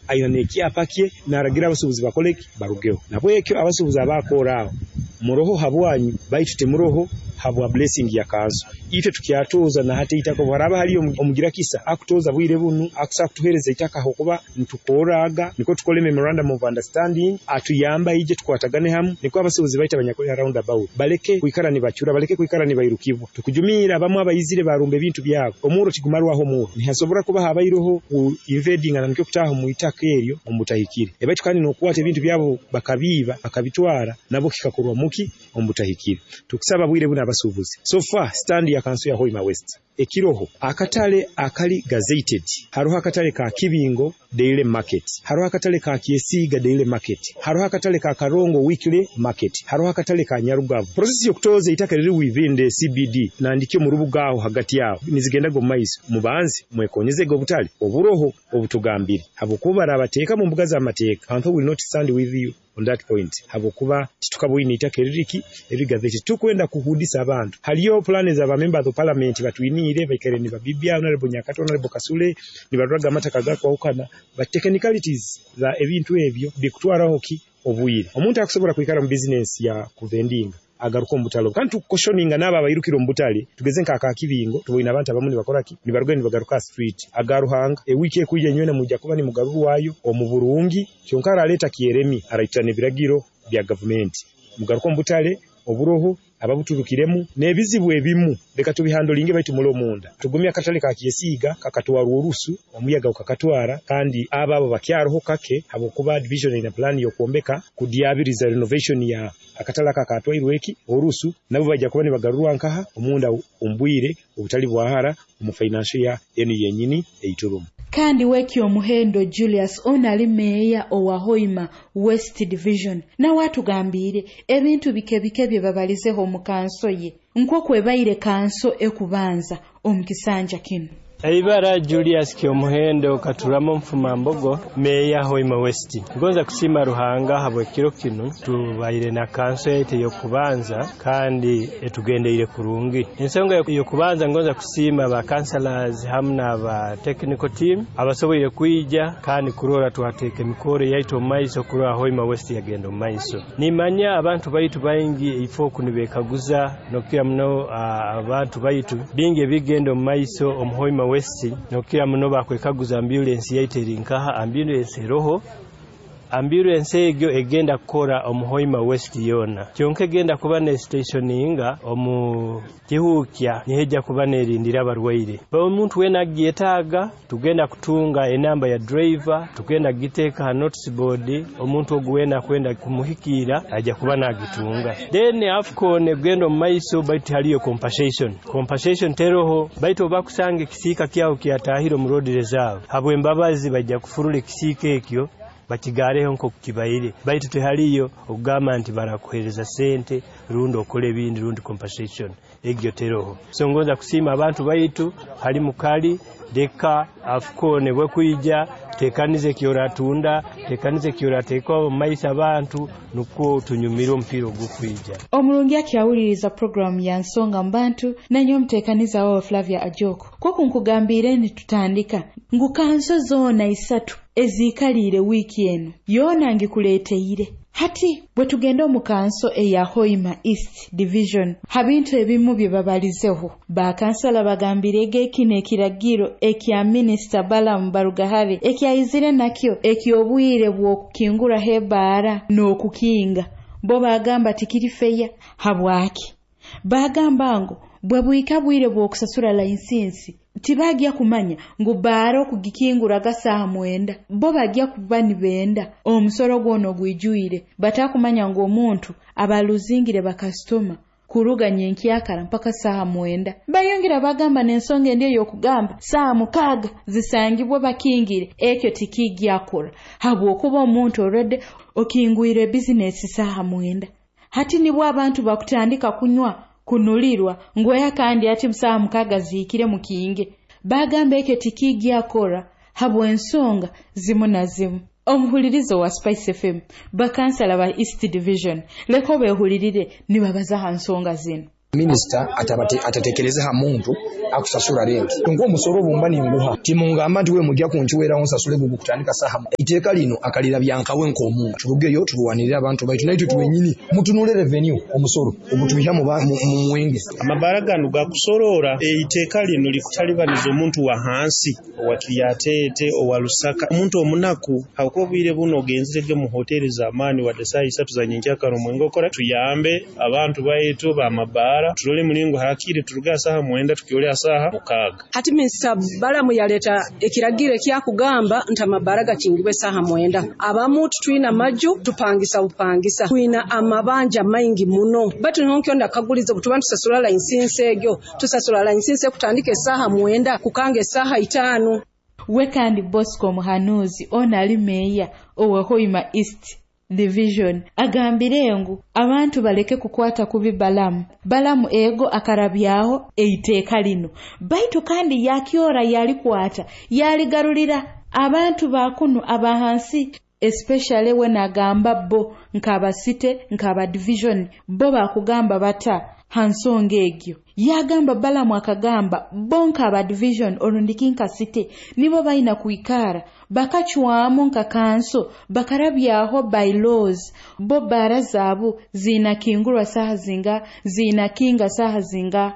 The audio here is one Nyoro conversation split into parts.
Aina n'ekyapa kye naragira abasuubuzi bakole ki? Barugeho. Nabwekyo abasuubuzi abakora aho muroho habwanyu, baitu timuroho habwa blessing ya kanso. Itwe tukyatoza na hati eitaka, obu haraaba haliyo omugira kisa akutoza bwire bunu akusobola kutuheereza itaka, habwokuba nitukorraga nikwo tukole memorandum of understanding, atuyamba ije tukwatagane hamu, nikwo abasuubuzi baitu abanyakuli ha round about baleke kwikara nibacura, baleke kwikara nibairukibwa. Tukujumiira abamu abaizire barumba ebintu byabo. Omurro tigumarwaho omurro, nihasobora kuba habaireho ku invading, nikyo kutaaha omu itaka eryo omu butahikire, baitu kandi n'okukwata ebintu byabo bakabiiba bakabitwara, nabwo kikakorwa muki? Omu butahikire. Tukusaba bwire buno abasuubuzi, so far stand ya kanso ya Hoima West ekiroho akatale akali gazetted. Haroho akatale ka Kibingo Daily Market, haroho akatale ka Kyesiiga Daily Market, haroho akatale ka Karongo Weekly Market, haroho akatale ka Nyarugabu. Process y'okutoza itaka riri within the CBD nandikyo mu rubuga aho hagati aho nizigendaga omu maiso. Mubanze mwekonyezege obutale oburoho obutugambire, habwokuba barabateeka mu mbuga z'amateeka, kanso will not stand with you on that point, habwokuba titukabwine itaka eririki eriri gazetted. Tukwenda kuhudisa abantu. Haliyo plans za members of parliament batwiniire, baikaire nibabibya Honorable Nyakato, Honorable Kasule, nibaruraga amataka gakwahukana, but technicalities za ebintu ebyo bikutwaraho ki? Obwire. Omuntu akusobola kwikara mu business ya kuvendinga agaruka omu butale, kandi tukoshoninga n'abo abairukire omu butale. Tugeze nka aka Kibingo, tuboine abantu abamu nibakora ki? Nibaruga nibagaruka street aga Ruhanga. Ewiiki ekwija nywena mujja kuba nimugarurwayo omu burungi, kyonka araleeta kyeremi araitira n'ebiragiro bya gavumenti. Mugaruka omu butale oburoho ababuturukiremu n'ebizibu ebimu leka tubihandolinge, baitu muli omunda tugumye. Akatale ka Kyesiiga kakatwarwa orusu, omuyaga gukakatwara, kandi abo bakyaroho kake, habwokuba division ina plan y'okwombeka kudyabiriza renovation ya akatale aka katwairwe eki orusu. Nabo bajja kuba nibagarurwa nkaha omunda omu bwire obutali bwahara omu financial ya enu yenyini eiturumu. Kandi weki omuhendo Julius ono ali meeya owa Hoima West Division, nawe atugambire ebintu bike bike bye babalizeho mu kanso ye, nk'okwebaire kanso ekubanza omu kisanja kino. Eibara Julius Kyomuhendo Katuramo Mfumambogo, meeya Hoima West. Ngonza kusiima Ruhanga habw'ekiro kinu. Tubaire na kanso yaitu ey'okubanza kandi etugendeire kurungi. Ensonga y'okubanza, ngonza kusiima ba councillors hamu n'aba technical team abasoboire kwija kandi kurora twateeka emikoro yaitu omu maiso, kurora Hoima West yagenda omu maiso. Nimanya abantu baitu baingi ifo oku nibekaguza, nokukira muno abantu baitu bingi ebigenda omu maiso omu Hoima West, nokukira muno bakwekaguza ambulance yaitu eri nkaha. Ambulance eroho. Ambulance egyo egenda kukora omu Hoima West yona, kyonka egenda kuba ne stationinga omu Kihuukya, nihejja kuba nerindira abarwaire. Omuntu wena agyetaaga, tugenda kutunga enamba ya driver, tugenda kugiteeka ha notice board. Omuntu ogu wena akwenda kumuhikiira ajja kuba nagitunga. Then AFCON egenda omu maiso, baitu haliyo compensation. Compensation teroho, baitu oba kusanga ekisiika kyaho kyatahire omu road reserve, habw'embabazi bajja kufurura ekisiika ekyo bakigareho nk'oku kibaire, baitu tehaliyo okugamba nti barakuhereza sente rundi okole ebindi rundi compensation egyo teroho. So ngonza kusiima abantu baitu hali mukali. Leka AFCON bwekwija, tekanize ekyoratunda, tekanize ekyorateeka omu maiso abantu, nukwo tunyumire omupiira ogukwija. Omurungi akyawuliriza puroguramu ya Nsonga mu Bantu, nanyo omuteekaniza wawe Flavia Ajoko. Kwoku nkugambire nitutandika ngu kanso zoona isatu eziikaliire wiiki eno yoona ngikuleeteire. Hati bwe tugenda omu kanso eya Hoima East Division, ha bintu ebimu bye babalizeho, bakansala bagambirege kino ekiragiro ekya Minisita Balamu Barugahare ekyayizire nakyo eky'obwire bw'okukinguraho ebaara n'okukinga, bo bagamba tikiri fair. Habwaki? Bagamba ngu bwe bwika bwire bw'okusasura license, tibagya kumanya ngu baara okugikinguraga saaha 9, bo bagya kuba nibenda omusoro gwona ogwijwire, batakumanya ngu omuntu abaluzingire bakasitoma kuruga nyenkyakara mpaka saaha 9. Bayongera bagamba n'ensonga endi ey'okugamba saaha 6 zisangibwe bakingire, ekyo tikigyakora, habwokuba omuntu already okingwire bizinesi saaha 9, hati nibwo abantu bakutandika kunywa, kunulirwa ngweya, kandi ati saaha 6 zihikire mukinge. Bagamba ekyo tikigyakora habw'ensonga zimu na zimu. Omuhulirizo wa Spice FM, bakansala ba East Division, leko behulirire nibabaza ha nsonga zino. Minisita atatekereze ha muntu akusasura renti. Nk'omusoro bumba ninguha timungamba nti we mujja kunkiweraho nsasule gugu kutandika saha. Iteeka lino akalira byankawe nk'omuntu. Turugeyo turwanirire abantu baitu naitwe twenyini mutunule revenue omusoro ogutwiha mu mwenge. Amabara gano gakusorora iteeka lino likutalibaniza omuntu wa hansi owa Kiryatete owa Lusaka omuntu omunaku hakuba obwire buno ogenzirege mu hoteli za maani wadde saa 3 za nyenkyakara omwenge okora. Tuyambe abantu baitu b'amabara turole mulingo hakiri turuga saha 9 tukyole saha 6. Hati Minisita Balamu yaleta ekiragiro ekyakugamba nti amabara gakingibwe saha 9. Abamu tutwina maju tupangisa bupangisa twina amabanja maingi muno batu nonkyo ndakaguliza obutuba tusasula license egyo tusasula license kutandika saha 9 kukanga saha 5. We kandi Bosco Muhanuzi ona ali meya owa Hoima East Division agambire ngu abantu baleke kukwata kubi Balamu. Balamu ego akarabyaho eiteeka lino baitu kandi yakyora yalikwata yaligarulira abantu bakunu abahansi especially we nagamba bo nk'abasite nk'aba division bo bakugamba bata hansonga egyo. Yagamba Balamu akagamba bo nk'aba division orundiki nka site nibo balina kuikara bakachwamu nka kanso bakarabyaho bylaws bo bara zabu zinakingurwa saha zinga zinakinga saha zinga.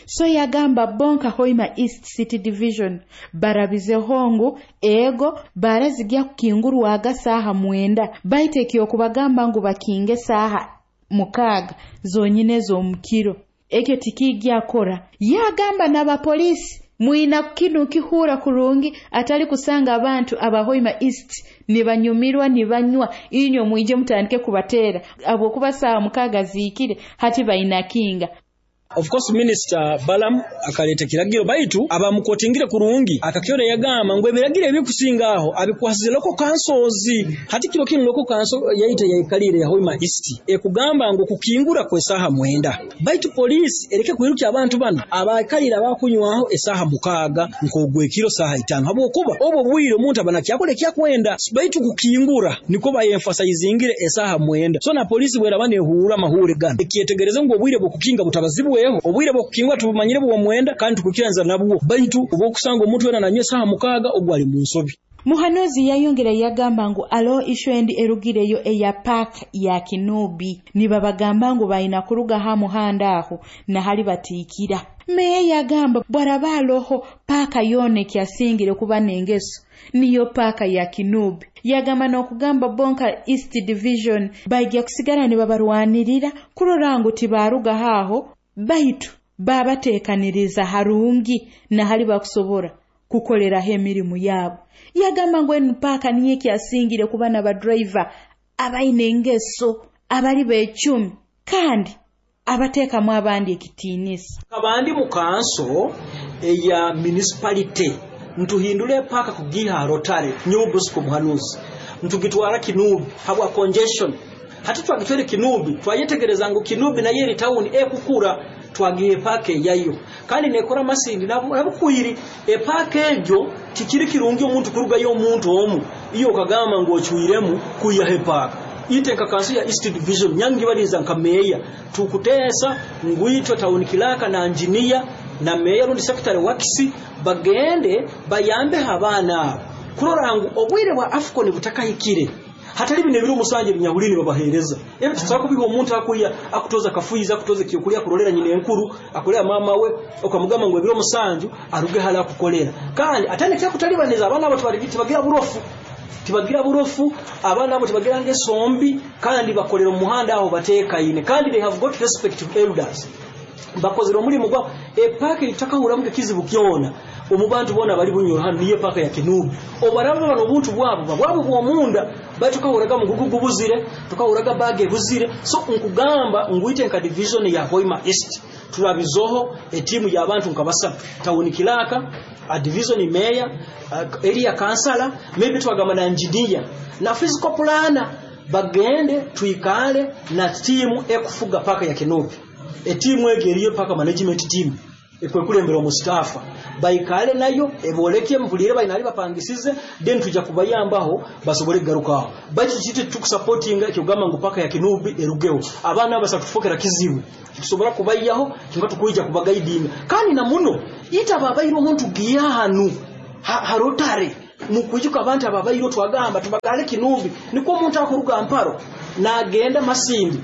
So yagamba bonka Hoima East City Division barabizeho ngu ego barazijya kukingurwaga saha 9 baitekyo kubagamba ngu bakinge saha 6 zonyine z'omukiro ekyo tikijya kora. Yagamba n'abapolisi mwina kinu kihura kurungi atali kusanga abantu abahoima East nibanyumirwa nibanywa inyo mwije mutandike kubatera abo kuba saha 6 zikire hati bainakinga. Of course Minister Balaam akaleta kiragiro baitu abamukotingire kurungi akakyore yagamba ngo ebiragiro ebikusinga aho abikwasize local councils. Hati kiro kino local council yaita yayikalire ya Hoima East ekugamba ngo kukingura kwa saha 9 baitu police ereke kwiruka abantu bano abakalira abakunywaho esaha 6 nkogwekiro saha 5 habwokuba obwo bwire omuntu abana kyakole kyakwenda baitu kukingura niko bayemphasizingire esaha 9. So na police bwera bane huura mahure gana ekyetegereze ngo obwire bwokukinga butabazibwe obwire bwokukingwa tubumanyire bwo mwenda kandi tukukiranza nabwo baitu obokusanga omuntu wena nanywe saha 6 ogwo ali mu nsobi. Muhanuzi yayongera yagamba ngu alo ishwendi erugireyo eya park ya Kinubi nibabagamba ngu balina kuruga ha muhanda aho na hali batikira. Meya yagamba bwarabaloho paka yone kyasingire kuba nengeso niyo paka ya Kinubi. Yagamba n'okugamba bonka East Division baijja kusigala nibabarwanirira kurora ngu tibaruga haho baitu babateekaniriza harungi na hali bakusobora kukoleraho emirimu yabo. Yagamba ngu enu paka niye kyasingire kuba n'abadriver abaine engeso abali b'ecumi kandi abateekamu abandi ekitiinisa. Abandi mu kanso eya municipality ntuhindule paka kugiha Rotary nyowe Bosco Muhanuzi ntugitwara Kinubi habwa congestion. Hati twagitwere Kinubi twayetegereza ngu Kinubi naye eri town ekukura twagiye pake yayo kandi nekora masindi nabukwiri epake egyo tikiri kirungi omuntu kurugayo omuntu omu iyo okagamba ngo ochuiremu kuya hepaka ite kanso ya East Division nyangi baliza nka meya tukutesa ngwitwa town kilaka na engineer na meya rundi secretary wakisi bagende bayambe abana kurora ngu obwire bwa Afcon butakahikire hatali bino ebiro musanje binyahulini babahereza ebi tusaba kubiha omuntu akuya akutoza kafuiza akutoza kiyokulya kulolera nyine enkuru akolera mama we okamugamba ngo ebiro musanju aruge hala akukolera kandi atane kyakutalibaniza abana abo tibagira burofu tibagira burofu abana abo tibagira ngesombi kandi bakolera omuhanda aho batekaine kandi they have got respect to elders bakozera omulimu gwa epaka itakahuramu kizibu kyona omubantu bona bali bunyoro hano niye paka ya Kinubi obaraba bano obuntu bwabo bwabo bwomunda batukahuraga mugugu gubuzire tukahuraga bage buzire. So nkugamba nguite nka division ya Hoima East turabizoho etimu ya abantu nkabasa town kilaka a division mayor area councilor maybe twagamba na engineer na physical planner bagende tuikale na timu ekufuga paka ya Kinubi etimu egeriyo paka management team ekwekulembera omustafa baikale nayo eboleke mpulire bainali bapangisize, then tujja kubayambaho basobole kugarukaho. Baitu kiti tukusupportinga ekyogamba ngu paka ya Kinubi erugeho, abaana abasatufokera kizibu tusobora kubayaho kinga tukuija kubagaidinga. Kandi na muno ita babairo omuntu giyahanu harotare mukuijuka abantu ababairo twagamba tubagale Kinubi, niko omuntu akuruga Mparo nagenda Masindi,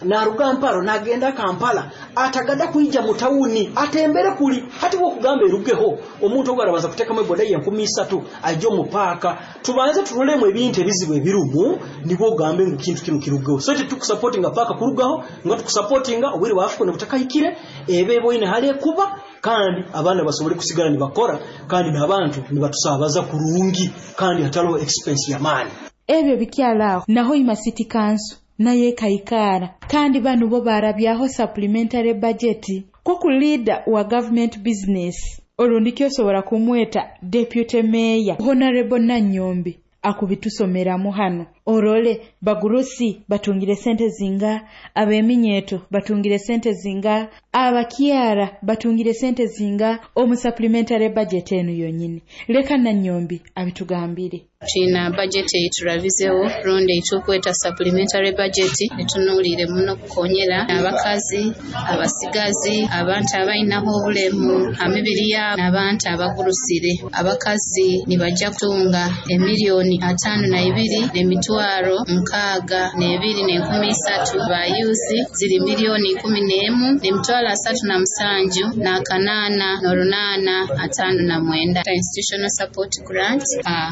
naruga Mparo nagenda Kampala, atagada kuija mutauni atembere kuli hati bwo kugamba erugeho omuntu ogwo arabanza kutekamu eboda ye 3000 aje omupaka tubanze turolemu ebintu ebizibu ebirumu nibwo ogambe ngu kintu kino kirugeho. So tukusupportinga paka kurugaho nga tukusupportinga obwire bwa Afrika nebutakahikire ebe boine hale kuba, kandi abaana basobole kusigala nibakora, kandi n'abantu nibatusabaza kurungi, kandi hatariho expense ya mani. Ebyo bikyalaaho naho Hoima City Council naye kaikara, kandi bano bo barabyaho supplementary budget koku leader wa government business olundi kyosobola kumweta deputy mayor Honorable Nanyombi akubitusomeramu hano. Orole bagurusi batungire sente zinga, abeminyeto batungire sente zinga, abakyara batungire sente zinga omu supplementary budget eno yonyini. Leka Nanyombi abitugambire. Tulina budget eyiturabizeho rundi eitukweta supplementary budget etunuulire muno kukonyera abakazi, abasigazi, abantu abainaho obulemu amibiri yabo n'abantu abagurusire. Abakazi nibajja kutunga emiliyoni 52 n'emitwaro 62,300, bayuzi ziri miliyoni 11 n'emitwaro 37 n'akaana n'orunaana 59. Institutional support grant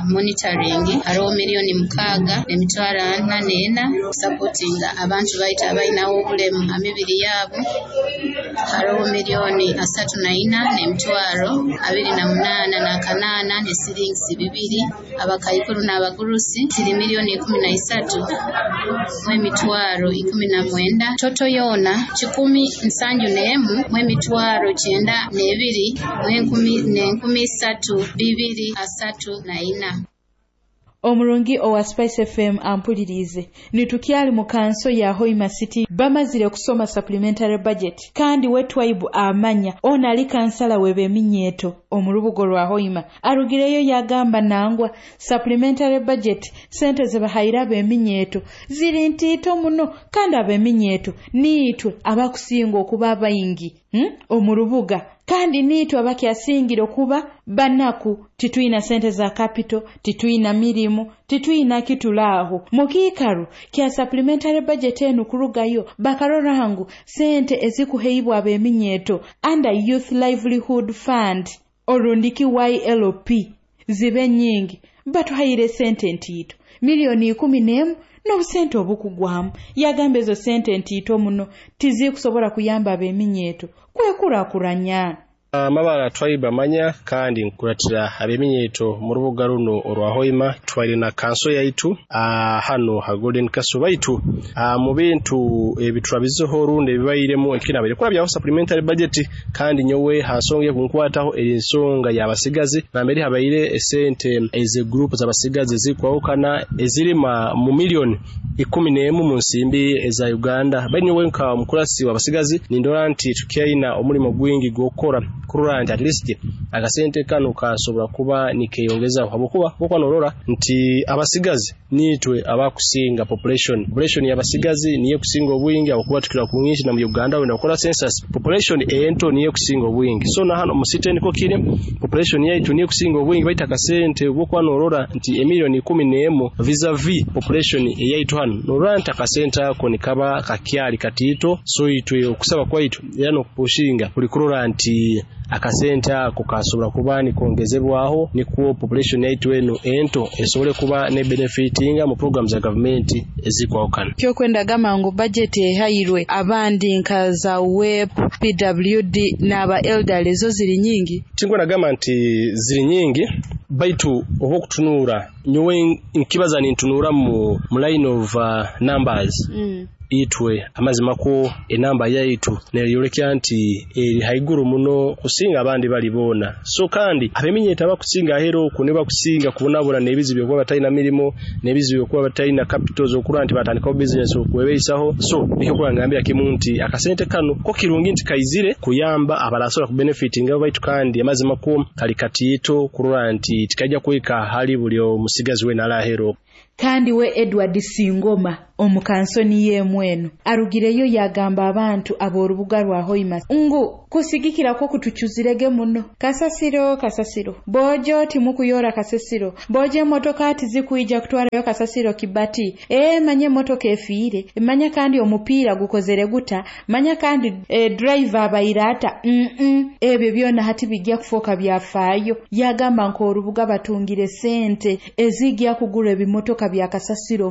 monitoring hariho miliyoni 6 n'emitwaro 44 supportinga abantu baita abainaho obulemu amibiri yabo, hariho miliyoni 34 n'emitwaro 28 n'akanaana n'esiringisi 2. Abakaikuru n'abagurusi ziri miliyoni 13 mw'emitwaro 19, toto yoona 171 mw'emitwaro 92 mw'enkumi n'enkumi 3 2 34. Omurungi owa Spice FM ampulirize, nitukyali mu kanso ya Hoima City bamazire kusoma supplementary budget, kandi wetwaibu amanya ona ali kansala w'eminyeto omurubugo rwa Hoima arugireyo yagamba nangwa supplementary budget sente zebahaira abeminyeto ziri ntito muno, kandi abeminyeto niitwe abakusinga okuba abaingi omurubuga, kandi niitwe abakyasingire okuba banaku. Titwina sente za capital, titwina mirimu, titwina kitulaaho. Mukiikaro kya supplementary budget enu kurugayo bakarora ngu sente ezikuheibwa abeminyeto under Youth Livelihood Fund orundiki YLP zibe nyingi, batuhaire sente ntiito miliyoni 11 n'obusente obukugwamu. Yagamba ezo sente ntiito muno tizikusobola kuyamba abeminyeto kwekurakuranya. Amabara twaiba manya kandi nkuratira abeminyeto mu rubuga runo orwa Hoima. Twaire na kanso yaitu hano ha Golden Castle baitu mu bintu ebiturabizeho rundi ebibairemu ekinabaire kurabyaho supplementary budget, kandi nyowe ha nsonga ekunkwataho eri ensonga y'abasigazi nambere habaire esente eze group z'abasigazi zikwawukana ezirima mu miliyoni 11 mu nsimbi eza Uganda. Bali nyowe nka omukurasi w'abasigazi nindora nti tukyaina omulimo gwingi gw'okukora kurora nti at least akasente kano kasobora kuba nikeyongeza, habwokuba bwokuba norora nti abasigazi nitwe abakusinga population y'abasigazi niye kusinga obwingi, abakuba tukira kunginshi na mu Uganda wenda gukora census population ento niye kusinga obwingi. So na hano mu city niko kiri population yaitu niye kusinga obwingi, baita akasente bwokuba norora nti emiliyoni 11 vis-a-vis population eyaitu hano norora nti akasente ako nikaba kakyali katito. So itwe okusaba kwaitu era n'okupushinga kuli kurora nti akasente ako kasobora kuba nikongezebwaho nikwo population yaitu eno ento esobole kuba ne benefitinga mu program za government ezikwawukana. Kyokwenda gamba ngu budget ehairwe abandi nka za WEP, PWD n'aba elderly zo ziri nyingi. Tingwena gamba nti ziri nyingi, baitu oba okutunura nyowe nkibaza nintunura mu line of numbers. Itwe amazima ko enamba yaitu neyolekya nti eri haiguru muno kusinga abandi bali boona. So kandi ab'eminyeeto abakusinga ahera oku nibo bakusinga kubonabona n'ebizibu by'okuba batalina mirimo, n'ebizibu by'okuba batalina capital z'okurora nti batandikaho bizinesi okwebeisaho. So nikyo kuba ngambira kimu nti akasente kano ko kirungi nti kaizire kuyamba abarasobora kubenefitinga baitu kandi amazima ko kali katiito kurora nti tikaija kuhika hali buli omusigazi weena ali ahera oku. Kandi we Edward Singoma omukansoni y'emweno arugireyo yagamba abantu ab'orubuga rwa Hoima ngu kusigikira kwo kutucuzirege muno kasasiro kasasiro bojo timukuyora kasasiro bojo emotoka tizikuija kutwarayo kasasiro kibati manye emotoka efiire manya kandi omupiira gukozere guta manya kandi driver abairata ebyo byona hati bijja kufoka byafaayo. Yagamba nk'orubuga batungire sente ezijja kugura ebimotoka bya kasasiro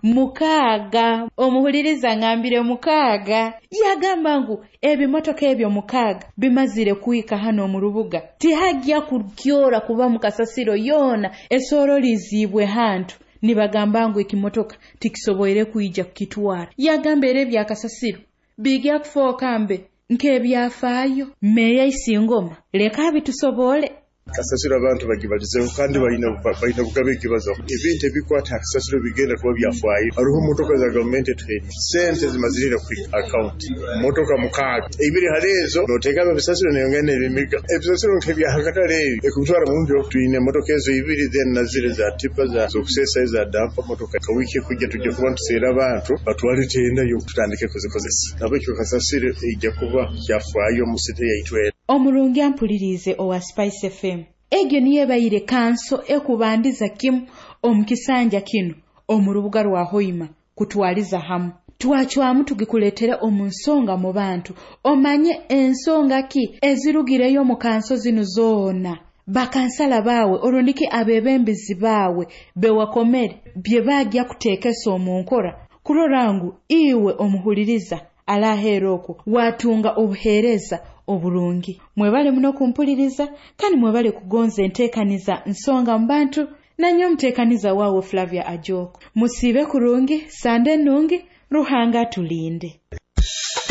mukaaga omuhuliriza ngambire 6. Yagamba ngu ebimotoka ebyo 6 bimazire kuika hano mu rubuga tihajya kukyora kuba mu kasasiro yona esorolizibwe hantu nibagamba ngu ekimotoka tikisoboire kuija kukitwara. Yagamba era ebya kasasiro bijja kufoka mbe nk'ebyafaayo. Meya Isingoma leka bitusobole. Kasasiro abantu bagibalizeho kandi balina bugabe ekibazo. Ebintu ebikwata kasasiro bigenda kuba byafaayo. Hariho motoka za gavumenti etuhaire sente zimazirire ku account motoka 6 ibiri hari ezo noteeka ebisasiro neyongera n'ebimiga ebisasiro nk'ebyahakatale ebi ekubitwara mu mbyo. Twine motoka ezo ibiri then nazire za tipa za zokusesa za dampa motoka kawiki kujja tujja kuba ntuseera abantu batwale tenda yo tutandike kuzikozesa nabwekyo kasasiro ejja kuba kyafaayo mu site yaitu. Omurungi ampulirize owa Spice FM egyo niyo ebaire kanso ekubandiza kimu omukisanja kino omu rubuga rwa Hoima kutwaliza hamu. Twacwamu tugikuleetera omu nsonga mu bantu omanye ensonga ki ezirugireyo mu kanso zino zoona. Bakansala baawe orundiki abebembezi baawe bewakomere bye bajja kuteekesa omu nkora kurora ngu iwe omuhuliriza alaheera okwo watunga obuheereza oburungi. Mwebale muno kumpuliriza kandi mwebale kugonza enteekaniza nsonga mu bantu nanyo omuteekaniza waawe Flavia Ajoko. Musiibe kurungi, sande nungi, Ruhanga atulinde.